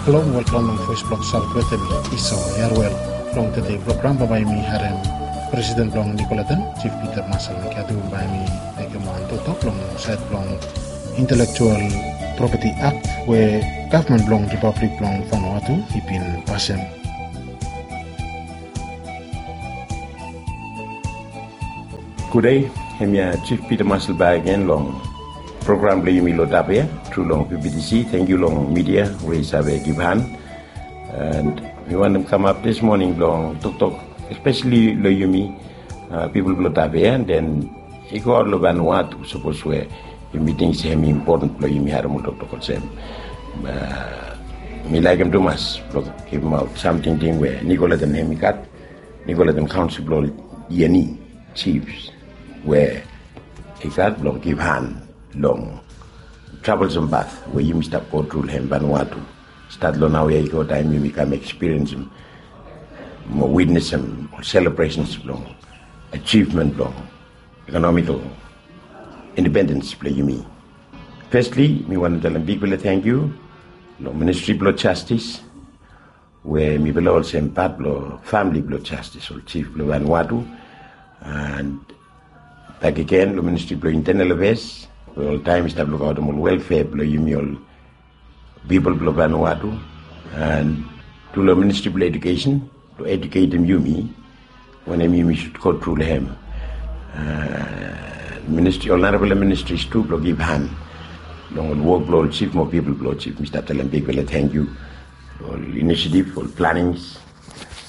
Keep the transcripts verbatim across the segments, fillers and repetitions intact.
Hello, welcome long Voice blong South wetem mi, Esau Yarwel. Long tede program bae yumi harem Presiden blong Nicoleton, Chief Peter Marshall Macadoo, bae hemi mekem wan toktok long saed blong Intellectual Property Act we gavman blong Ripablik blong Vanuatu i bin pasem. Gude, hemia Chief Peter Marshall bakegen long program blong yumi lo Tavea tru long V B T C. Tangkiu long midia we i save givhan. And mi wantem kamap dis moning blong toktok espeseli lo yumi, uh, pipol blo Tavea, and then i go aot lo Vanuatu, sapos we yumi ting se hemi impoten blo yumi harem ol toktok olsem. Uh, mi laekem tumas blo givimaot sam tingting we Nicoleton hemi gat, Nicoleton Kaonsel blo Yeni Chiefs, we i gat blo givhan long travelesem path we yumi stap go tru lo hem Vanuatu. Stat lo naoia i go taem yumi kam ekspiriensem mo witnesem ol selebresens blong ajivmen blong ekonomikol independens blo yumi. Fesli, mi wantem talem bigfala tangkiu long Ministri blo Jastis, we mifala olsem pat blo famili blo Jastis, ol jif blo Vanuatu, and bakegen long Ministri blo Intenal Afeas, we oltaem i stap lukaotem ol welfea blo yumi ol pipol blo Vanuatu, and tu long Ministri blo Edukesen blo eduketem yumi wanem yumi sud go tru lo hem. Uh, ministri, ol narafala ministris tu blo givhan long ol wok blo ol jif mo pipol blo ol jif. Mi stap talem bigfala tangkiu lo ol inisiativ, ol planings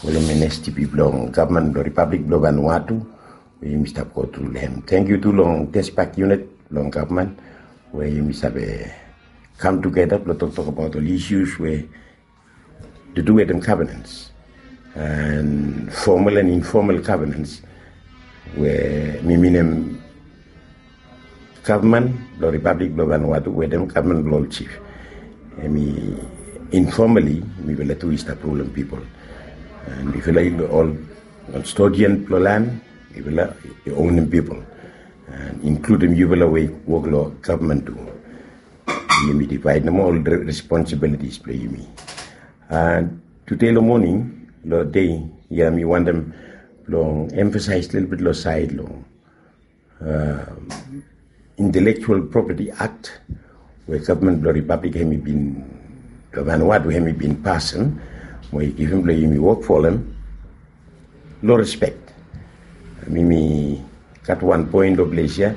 we long ministri blong gavman blo Ripablik blo Vanuatu we yumi stap go tru lo hem. Tangkiu tu long Despak Unit blong gavman we yumi save kam tugeta blo toktok abaot ol isius we tu du wetem governance, and formal and informal governance, we mi minim gavman blo Ripablik blo Vanuatu wetem gavman blo ol jif. Hemi informali mifala tu i stap rulem pipol. And mifala i ol kastodian blo lan, mifala i onem pipol. And inkludim yufala we i wok lo gavman tu. Yumi divaedem ol re-, responsibilities blo yumi. And tude lo moning, lo dei ia, mi wantem long emfasaes lelebet lo saed long, uh, Intellectual Property Act we gavman blo Ripablik hemi bin, lo Vanuatu hemi bin pasem, mo i givim blo yumi wok folem lo respek. Mi, mi gat wan poen lo ples ia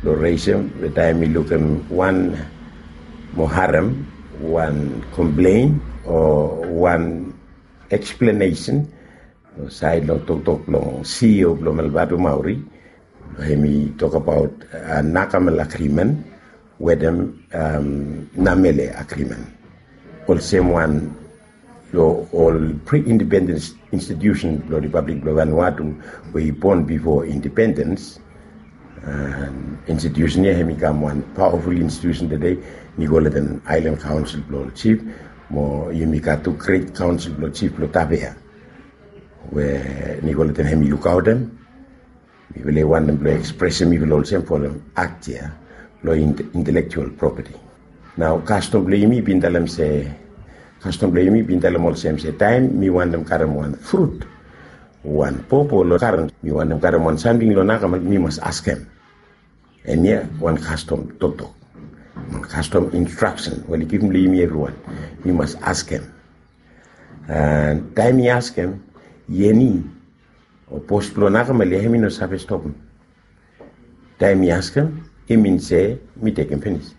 blo resem, we taem mi lukim wan mo harem wan komplen o wan eksplenesen lo saed lo toktok blong CEO blo Melvatu Maori, hemi tokbaot, uh, Nakamel Agreement wetem, um, Namele Agreement. Olsem wan lo ol pre-independence institusen blo Ripablik blo Vanuatu we i bon bifo independens. And institusen ia hemi kam wan pawaful institusen tede, Nicoleton Island Council blo ol jif, mo yumi gat tu Great Council blo Jif blo Tavea, we Nicoleton hemi lukaotem. Mifala i wantem blo ekspresem mifala olsem folem akt ia lo int-, intelektual propeti. Nao kastom blo yumi i bin talem se, kastom blo yumi i bin talem olsem se taem mi wantem karem wan frut, wan popo lo garen, mi wantem karem wan samting lo Nakamel, mi mas askem. Hemia wan kastom toktok, wan kastom instraksen we oli givim lo yumi evriwan. Mi mas askem. And taem mi askem, Yeni o bos blo Nakamel ia hemi no save stopim. Taem mi askem, i min se mi tekem finis.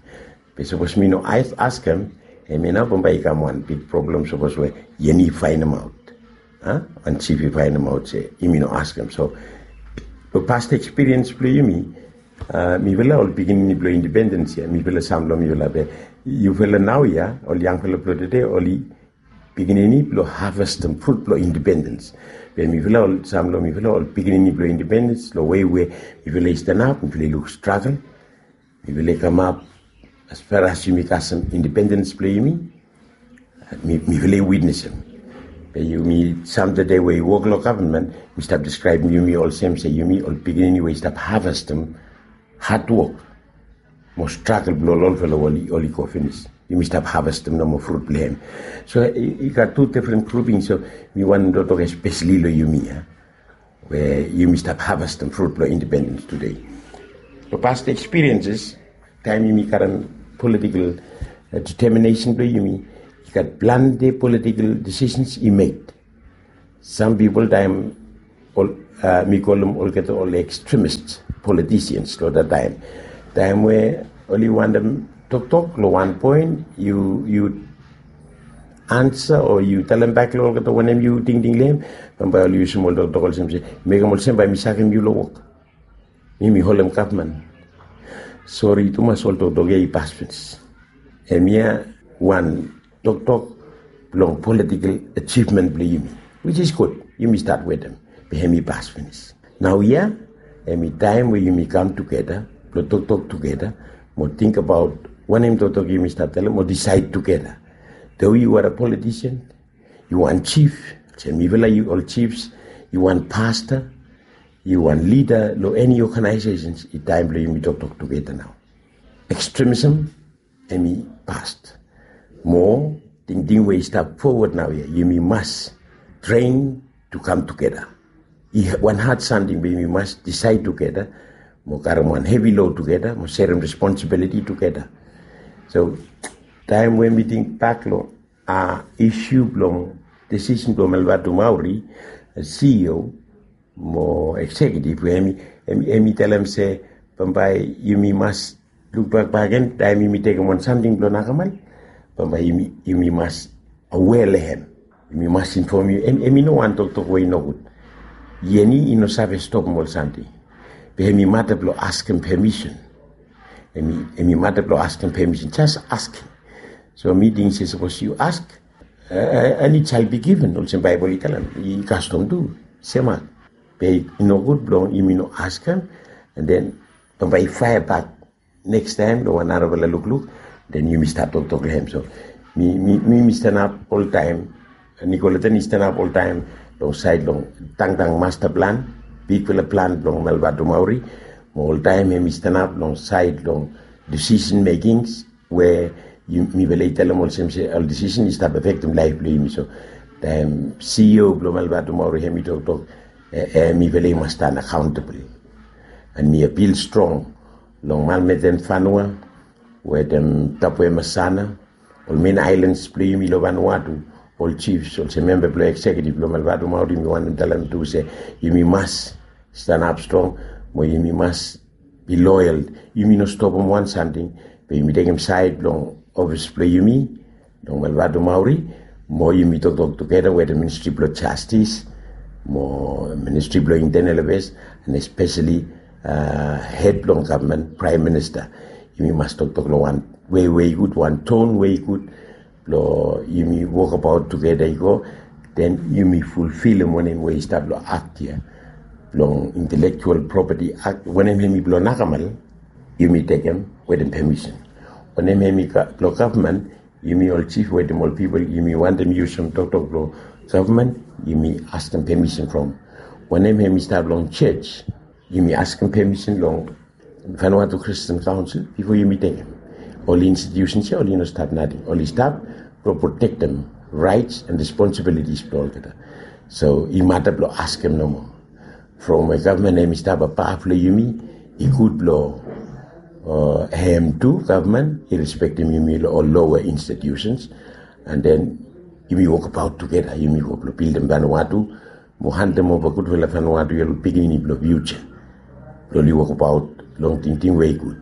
Be sapos mi no as-, askem, hemia nao bambae i kam wan big problem sapos we Yeni i faenemaot, a, wan jif i faenemaot se yumi no askem. So lo past ekspiriens blo yumi, a, mifala ol pikinini blo independens ia, mifala sam lo mifala, be yufala naoia, ol yangfala blo tede, oli pikinini blo havestem frut blo independens. Be mifala ol, sam lo mifala ol pikinini blo independens, lo wei we mifala i stanap, mifala i luk stragel, mifala i kamap as far as yumi kasem independens blo yumi, mi, mifala i witnesem. Be yumi sam tede we i wok lo gavman, mi stap deskraebem yumi olsem se yumi ol pikinini we i stap havestem hadwok mo stragel blo ol olfala we oli, oli go finis. Yumi stap havestem nomo frut blong hem. So i gat tu difren gruping, so mi wantem toktok espeseli long yumi ya, we yumi stap havestem frut blong independens tude. Long past ekspirienses, taem yumi karem politikel deteminesen blong yumi, i gat plante politikel disisens i mek. Sam pipol taem mi kolem olgeta ol ekstremis politisians long dat taem, taem we oli wantem toktok long wan poen, yu ansa o yu talembak long olgeta wanem yu tingting long hem. Bambae oli yusum ol toktok olsem se, mekem olsem bae mi sakem yu long wok. Mi mi holem gavman. Sori tumas, ol toktok ya i pas finis. Hemia wan toktok blong politikel ajivmen blong yumi, wis is gud. Yumi stat wetem, be hem i pas finis. Naoia hem i taem we yumi kam tugeta blong toktok tugeta, mo tingbaot wanem toktok yumi stap talem, mo disaed tugeta. Do yu are a politisian, yu wan jif, olsem mifala yu ol jifs, yu wan pasta, yu wan lida long eni oganaesesens, i taem blong yumi toktok tugeta nao. Ekstremisem hem i past. Mo tingting we i stap fowod naoia, yumi mas tren tu kam tugeta. I wan had samting be yumi mas disaed tugeta, mo karem wan hevi lod tugeta, mo serem responsibiliti tugeta. So taem we mi tingbak long a isu blong disisen blong Melvatu Maori, CEO mo eksekiutiv, we hem i talem se bambae yumi mas lukbak bakegen taem yumi tekem wan samting blong nakamal. Bambae yumi mas awea long hem. Yumi mas infom yu, hem i no wan toktok we i nogud. Yeni i no save stopem ol samting. Be hem i mata blong askem pemisen. Hem i mata blong askem pemisen, jas askem. So mi ting se sapos yu ask, and it shall be given, olsem Baebol i talem, i kastom tu semak. Be i nogud blong yumi no askem, and then bambae i faea bak nekstaem long wan narafala lukluk, then yumi stat toktok long hem. So mi mi stanap oltaem, Nicoletta i stanap oltaem long saed long tangtang masta plan, bigfala plan blong Melvatu Maori. Mo oltaem hem i stanap long saed long disisen mekings we mifala i talem olsem se ol disisen i stap afektem laef blong yumi. So taem CEO blong Melvatu Maori hem i toktok, mifala i mas stan akaontabol. And mi apil strong long Malmeten Fanua wetem Tapuemasana, ol men aelans blong yumi long Vanuatu, ol jifs olsem memba blong eksekiutiv blong Melvatu Maori, mi wantem talem tu se yumi mas stanap strong, mo yumi mas be loyal. Yumi no stopem wan samting, be yumi tekem saed blong ofis blong yumi long Melvatu Maori, mo yumi toktok tugeta wetem Ministri blong Jastis mo Ministri blong Intenal Afeas, and espeseli hed blong gavman, Praem Minista. Yumi mas toktok long wan wei we i gud, wan ton we i gud, blong yumi wokabaot tugeta i go, then yumi fulfilem wanem we i stap long akt ya, blong intelektual propeti akt. Wanem hem i blong nakamal, yumi tekem wetem pemisen. Wanem hem i blong gavman, yumi ol jif wetem ol pipol yumi wantem yusum toktok blong gavman, yumi askem pemisen from. Wanem hem i stap long jos, yumi askem pemisen long Vanuatu Christian Council bifo yumi tekem. Ol institusens ya oli no stap nating, oli stap blong protektem raets and responsibilitis blong olgeta. So i mata blong askem nomo. From we gavman hem i stap abaf long yumi, i gud blong hem tu gavman i respektem yumi long ol loa institusens, and then yumi wokabaot tugeta, yumi go blong bildim Vanuatu, mo handem ova gudfala Vanuatu ya long pikinini blong fiuja, blong oli wokabaot long tingting we i gud.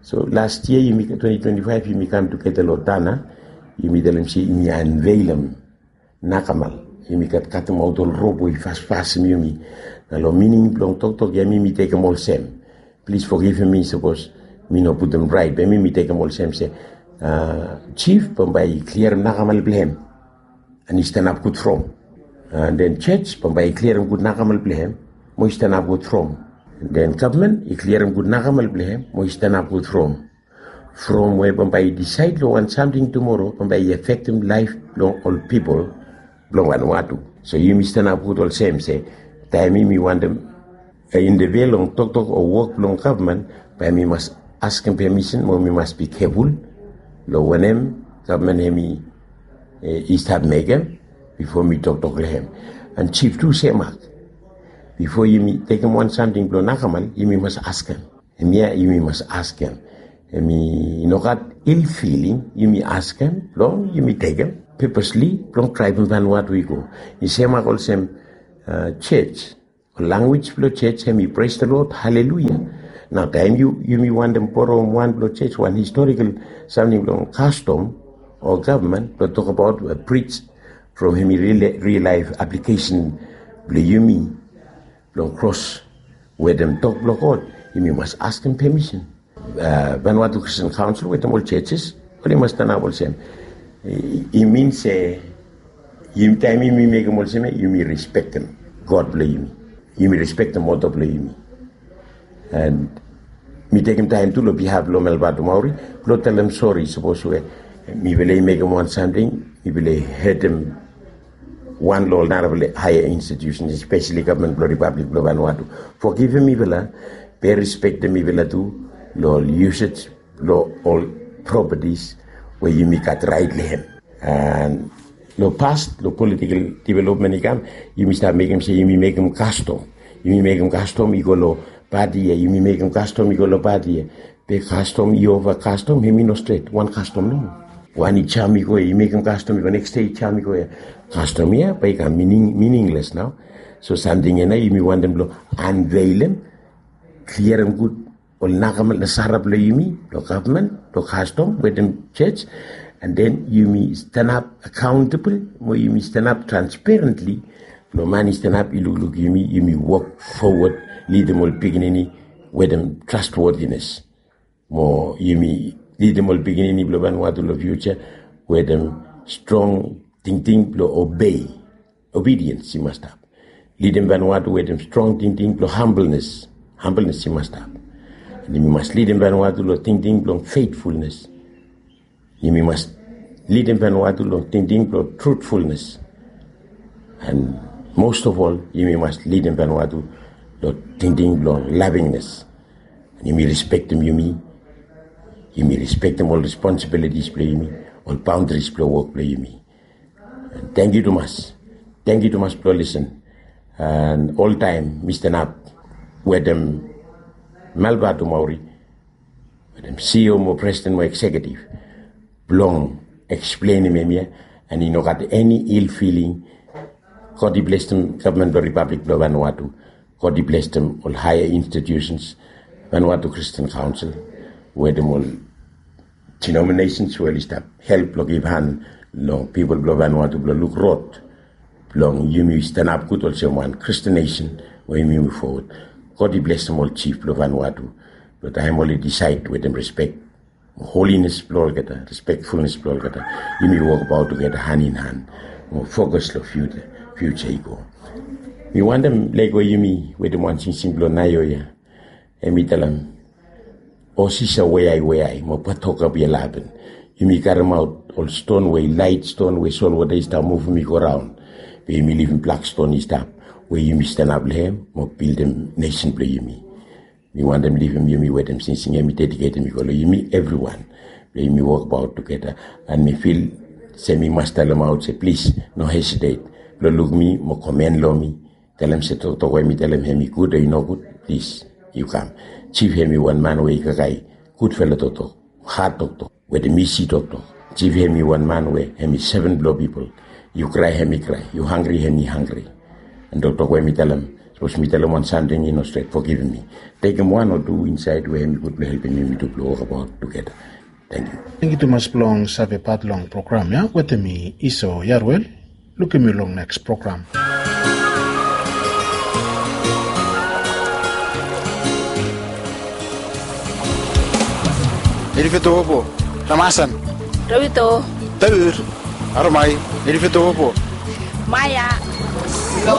So las yia yumi, twenty twenty-five, yumi kam tugeta long Tanna, yumi talem se yumi anveilem nakamal. Yumi gat katemaot ol rop we i fasfasem yumi. Na long mining blong toktok ya mi mi tekem olsem, plis fogivem mi sapos mi no putum raet, be mi mi tekem olsem se jif bambae i kliarem nakamal blong hem, and i stanap gud from. And then jos bambae i kliarem gud nakamal blong hem, mo i stanap gud from. And then gavman i kliarem gud nakamal blong hem, mo i stanap gud from. From we bambae i disaed long wan samting tumoro bambae i afektem laef blong ol pipol blong Vanuatu. So yumi stanap gud olsem se taem yumi wantem interview long toktok o wok blong gavman, bae mi mas askem pemisen mo mi mas bi keful long wanem gavman hemi i stap mekem bifo mi toktok long hem. An jif tu semak, bifo yumi tekem wan samting blong nakamal, yumi mas askem. Hemia yumi mas askem. Hemi no gat il filing, yumi askem blong yumi tekem pepesli blong draivim Vanuatu i go. I semak olsem jej, lanwis blong jej hemi pres the Lord, haleluia. Nao taem yumi wantem borem wan blong jej, wan historikal samting blong kastom o gavman blong tokbaot, brij from hemi ril laef aplikesen blong yumi blong kros wetem tok blong God, yumi mas askem pemisen. Vanuatu Christian Council wetem ol jejes oli mas stanap olsem. I min se taem yumi mekem olsem ya, yumi respektem God blong yumi. Yumi respektem moto blong yumi. An mi tekem taem tu long bihaf blong Melvatu Maori blong talem sori sapos we mifala i mekem wan samting, mifala i hetem wan long ol narafala haea institusen, espeseli gavman blong Ripablik blong Vanuatu. Fogivim mifala, be respektem mifala tu long ol yusej blong ol propatis we yumi gat raet long hem. An long pas, long politikal developmen i kam, yumi stap mekem se yumi mekem kastom. Yumi mekem kastom i go long pati ya, yumi mekem kastom i go long pati ya. Be kastom i ova kastom, hemi no stret. Wan kastom nomo. Wan i jam i go ya, i mekem kastom i go, neks dei i jam i go ya. Kastom ya bae i kam miningles nao. So samting ya nao yumi wantem blong anveilem, kliarem gud ol nakamal nasara blong yumi, blong gavman, blong kastom wetem jej. An den yumi stanap akaontabol mo yumi stanap transperentli blong man i stanap i lukluk yumi, yumi wok fowod, lidim ol pikinini wetem trastwotines. Mo yumi lidim ol pikinini blong Vanuatu long fiuja wetem strong tingting blong obei. Obediens i mas stap. Lidim Vanuatu wetem strong tingting blong hambelnes. Hambelnes i mas stap. An yumi mas lidim Vanuatu long tingting blong fetfulnes. Yumi mas lidim Vanuatu long tingting blong trutfulnes. An mos of ol, yumi mas lidim Vanuatu long tingting blong lavingnes. An yumi respektem yumi. Yumi respektem ol responsibilitis blong yumi, ol baondaris blong wok blong yumi. Tangkiu tumas. Tangkiu tumas blong lisen. An oltaem mi stanap wetem Melvatu Maori, wetem CEO mo presiden mo eksekiutiv blong eksplenem hemia. An i no gat eni il filing. God i blesem gavman blong Ripablik blong Vanuatu. God i blesem ol haea institusens, Vanuatu Christian Council, wetem ol denominations we oli stap help blong givhan long pipol blong Vanuatu blong luk rod blong yumi stanap gud olsem wan Christian nesen we yumi muv fowod. God i blesem ol jif blong Vanuatu blong taem oli disaed wetem respek, holines blong olgeta, respekfulnes blong olgeta, yumi wokbaot tugeta han in han mo fokas long fiuja i go. Mi wantem lego yumi wetem wan singsing blong naioia. Hemi talem, o sisa weai weai mo patoka bia laben. Yumi karemaot ol ston we i laet, ston we solwota i stap muvum i go raon. Be yumi livim blak ston i stap we yumi stanap long hem mo bildim nesen blong yumi. Mi wantem livim yumi wetem singsing ya, mi dediketem i go long yumi evriwan blong yumi wokbaot tugeta. An mi fil se mi mas talemaot se plis no hesitet blong luk mi mo komen long mi. Talem se toktok we mi talem hemi gud o i nogud, plis yu kam. Jif hemi wan man we i kakae gudfala toktok, hat toktok wetem isi toktok. Jif hemi wan man we hemi seven blong pipol. Yu krae hemi krae, yu hanggri hemi hanggri. An toktok we mi talem, sapos mi talem wan samting i no stret, fogivim mi. Tekem wan o tu insaed we hemi gud blong helpem yumi tu blong wokbaot tugeta. Tangkiu. Tangkiu tumas blong save pat long program ya wetem mi, Iso Yaruel. Lukim yu long neks program. Nirifetowopo, Ramasan. Rawito. Taur. Aromai. Nirifetowopo. Maya.